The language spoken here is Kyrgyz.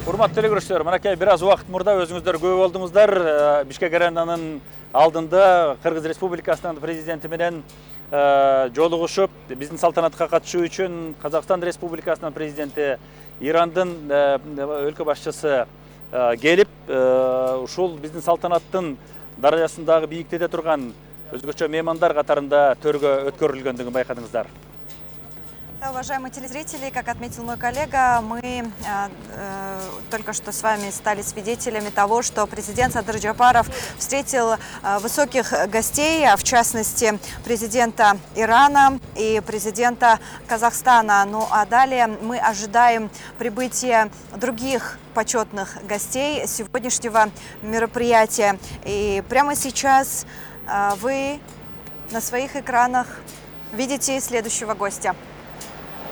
Урматтуу телекөрүүчүлөр, мынакей бир аз убакыт мурда өзүңүздөр көп болдуңуздар. Бишкек аренанын алдында Кыргыз Республикасынын президенти менен жолугушуп, биздин салтанатка катышуу үчүн Казакстан Республикасынын президенти, Ирандын өлкө башчысы келип, ушул биздин салтанаттын даражасындагы бийиктикте турган өзгөчө меймандар катарында төргө өткөрүлгөндүгүн байкадыңыздар. Уважаемые телезрители, как отметил мой коллега, мы только что с вами стали свидетелями того, что президент Садыр Джапаров встретил высоких гостей, в частности президента Ирана и президента Казахстана. Ну а далее мы ожидаем прибытия других почетных гостей сегодняшнего мероприятия. И прямо сейчас вы на своих экранах видите следующего гостя.